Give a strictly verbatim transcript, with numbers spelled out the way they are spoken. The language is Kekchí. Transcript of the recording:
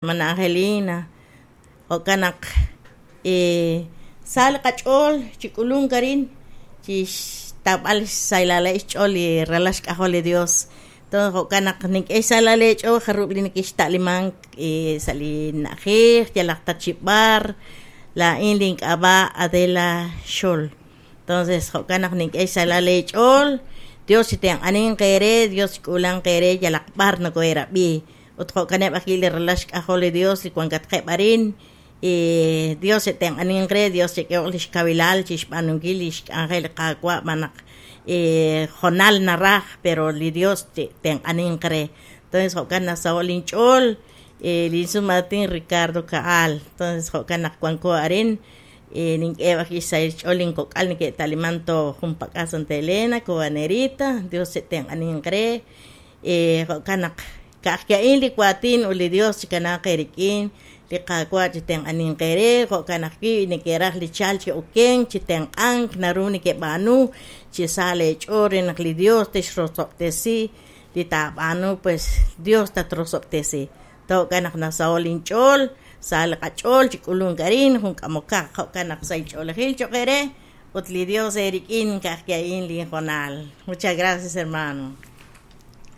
Hermana Angelina, jo'kan naq sa li qach'ool chi k'ulunk arin chi xtawb'al xsahilal xch'ool li ralal xk'ajol li Dios. Entonces jo'kan naq nink'e xsahilal eech'ool jarub' li nekexta'limank sa' li na'ajej yalaq ta chi b'ar. Laa'in link'ab'a' Adela Xol. Entonces jo'kan naq nink'e xsahilal eech'ool. Dios chitenq'aninq eere, Dios chik'uulanq eere yalaq b'ar nokoheerab'i. Ut jo'kaneb' ajwi' li ralal xk'ajol li Dios li wankatqeb' arin. Dios chitenq'aninq re, Dios chik'ehoq lix kawilal chixb'aanunkil lix k'anjel li Qaawa' xb'aan naq jonal naraj, pero li Dios chitenq'aninq re. Entonces jo'kan nasaho' linch'ool lin sum aatin Ricardo Caal. Entonces jo'kan naq wanko arin nink'eheb' ajwi' xsahil xch'ool linkok'al neke'ta'liman to junpak'al Santa Elena, Cobanerita. Dios chitenq'aninq re. Jo'kan naq ka'aj a'in li waatin ut li Dios chikanaaq eerik'in, li Qaawa' chitenq'aninq eere, jo'kan ajwi' neke'raj li chalk chi okenk, chi tenq'ank, naru nekeb'aanu chi sa leech'ool re naq li Dios texrosob'tesi li taab'aanu, pues Dios tatrosob'tesi. Jo'kan naq nasaho' linch'ool, sa li qach'ool chi k'ulunk arin, jun k'amokaq, jo'kan naq sahil ch'oolejil cho'q eere ut li Dios eerik'in ka'aj a'in linjonal. Muchas gracias, hermano.